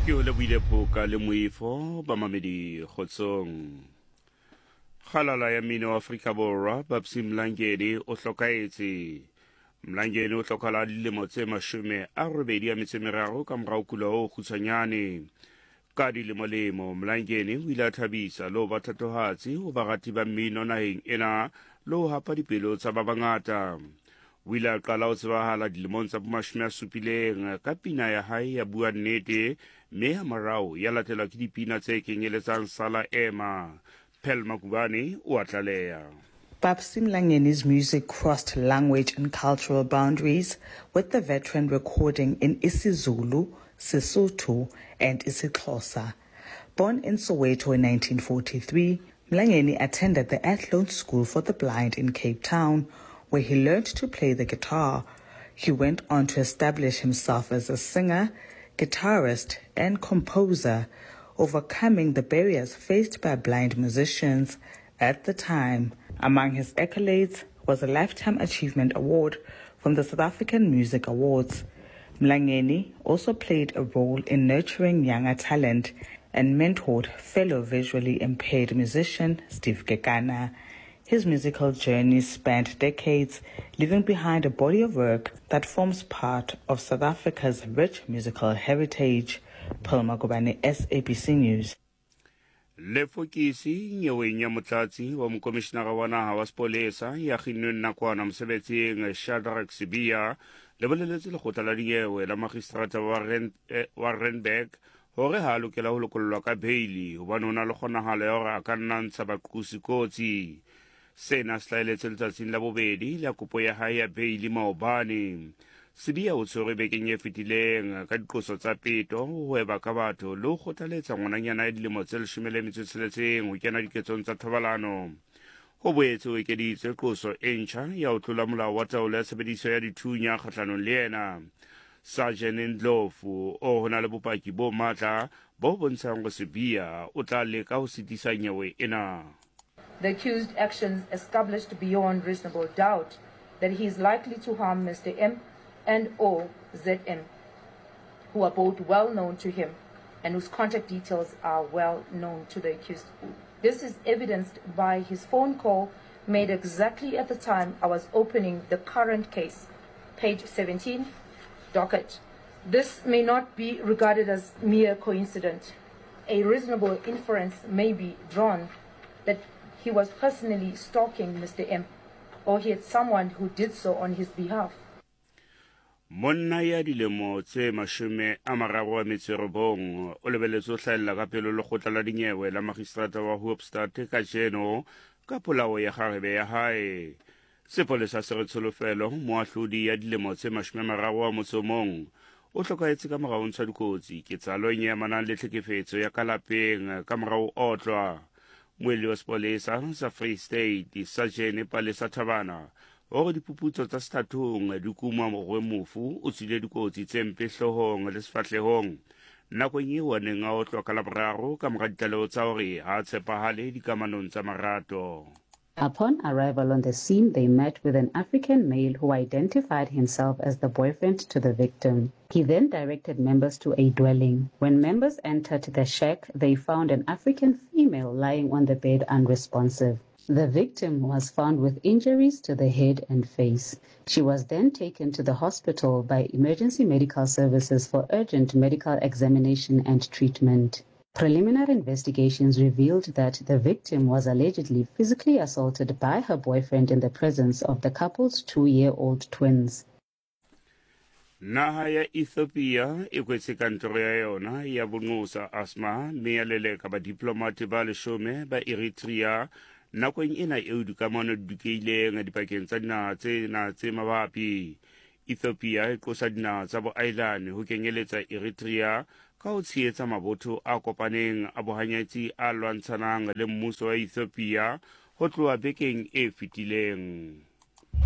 Ke o lebohile Phoka le Moifo bamamedi kgotsong. Kgalala ya mmino wa Afrika Borwa Babsy Mlangeni o hlokaetse. Mlangeni o hlokala dilemo tse 83 ka morao kula o kgutshwanyane. Ka dilemolemo, Mlangeni o ile a thabisa le ho ba thatohatsi ho barati ba mmino naheng ena le ho hapa dipelo tsa ba bangata. O ile a qala ho tsebahala dilemong tsa bomashome a supileng ka pina ya hae ya Bua Nnete mme hamorao ya latelwa ke dipina tse kenyeletsang Sala Ema. Pearl Makubane o a tlaleha. Babsy Mlangeni's music crossed language and cultural boundaries, with the veteran recording in isiZulu, Sesotho, and isiXhosa. Born in Soweto in 1943, Mlangeni attended the Athlone School for the Blind in Cape Town, where he learned to play the guitar. He went on to establish himself as a singer, guitarist, and composer, overcoming the barriers faced by blind musicians at the time. Among his accolades was a Lifetime Achievement Award from the South African Music Awards. Mlangeni also played a role in nurturing younger talent and mentored fellow visually impaired musician Steve Kekana. His musical journey spanned decades, leaving behind a body of work that forms part of South Africa's rich musical heritage. Pearl Magubane, SABC News. Lefokisi nyeweng ya motlatsi wa mokomišenara wa naga wa sepolesa ya kginnweng nakwana mosebetsing Shadrack Sibiya le boleletse lekgotla la dinyewe la magistrata wa, Ren, eh, wa Randburg gore ga a lokela go lokollwa ka beili gobane o na le kgonagalo ya gore a ka nna ntsha baqosi kotsi. Sena se hlaeletse letsatsing la bobedi la kopo ya hae ya beili maobane. Sibiya o tshwerwe bekeng e fetileng ka diqoso tsa peto, ho hweba ka batho le ho kgothaletsa ngwananyana ya dilemo tse 16 ho kena diketsong tsa thobalano. Ho boetse ho ekeditswe qoso e ntjha ya ho tlola molao wa taolo ya tshebediso ya dithunya kgahlanong le yena. Sergeant Ndlovu o ho na le bopaki bo matla bo bontshang hore Sibiya o tla leka ho sitisa nyewe ena. The accused actions established beyond reasonable doubt that he is likely to harm Mr. M and or ZM, who are both well known to him and whose contact details are well known to the accused. This is evidenced by his phone call made exactly at the time I was opening the current case, page 17, docket. This may not be regarded as mere coincidence. A reasonable inference may be drawn that he was personally stalking Mr. M or he had someone who did so on his behalf. Monna ya dilemo tse 39 o lebeletswe ho hlahella ka pelo lekgotla la dinyewe la magistrata wa Hoopstad kajeno ka polao ya kgarebe ya hae. Sepolesa se re Tsholofelo, moahlodi ya dilemo tse 31, o hlokahetse ka mora ho ntshwa dikotsi ketsahalong e amanang le tlhekefetso ya ka lapeng ka mora ho otlwa. Moelli wa sepolesa sa Free State, Sajene Palesa Thabana, o re diphuputso tsa sethathong di kuma hore mofu o tswile dikotsi tse mpe hloohong le sefahlehong nakong eo a neng a otlwa ka Laboraro ka mora ditlaleho tsa hore ha a tshepahale dikamanong tsa marato. Upon arrival on the scene, they met with an African male who identified himself as the boyfriend to the victim. He then directed members to a dwelling. When members entered the shack, they found an African female lying on the bed unresponsive. The victim was found with injuries to the head and face. She was then taken to the hospital by emergency medical services for urgent medical examination and treatment. Preliminary investigations revealed that the victim was allegedly physically assaulted by her boyfriend in the presence of the couple's 2-year-old twins. Naha ya Ethiopia e kwetse kantoro ya yona ya bonqosa Asma mme ya leleka badiplomate ba leshome ba Eritrea nakong ena eo dikamano di dukeileng dipakeng tsa dinaha tsena tse mabapi. Ethiopia e qosa dinaha tsa boahelani ho kenyeletsa Eritrea ka ho tshehetsa mabotho a kopaneng a bohanyetsi a lwantshanang le mmuso wa Ethiopia ho tloha bekeng e fetileng.